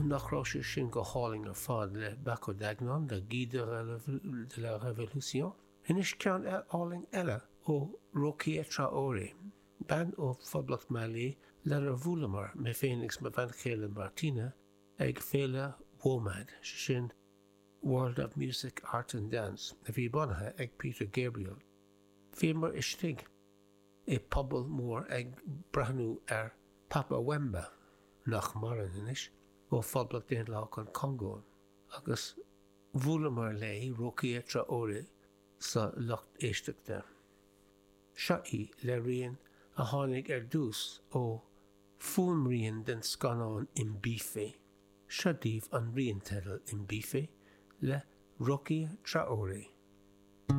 Nach raibh sé sin go hálainn ar fad le Bako Dagnon, Le Guide de la Révolution? Anois ceann álainn eile ó Rokia Traoré, bean ó Phoblacht Mailí lenar bhuaileamar, mé féin agus mo bhean chéile Martina, ag féile WOMAD, sé sin World of Music, Art and Dance, a bhí bunaithe ag Peter Gabriel. Bhíomar istigh i bpuball mór ag breathnú ar Papa Wemba, nach maireann anois, ó Phoblacht Daonlathach an Chongó, agus bhuaileamar léi, Rokia Traoré, sa lucht éisteachta. Seo í le rian a tháinig ar dtús ó fuaimrian den scannán Imbife. Seo daoibh an rian teidil Imbife le Rokia Traoré.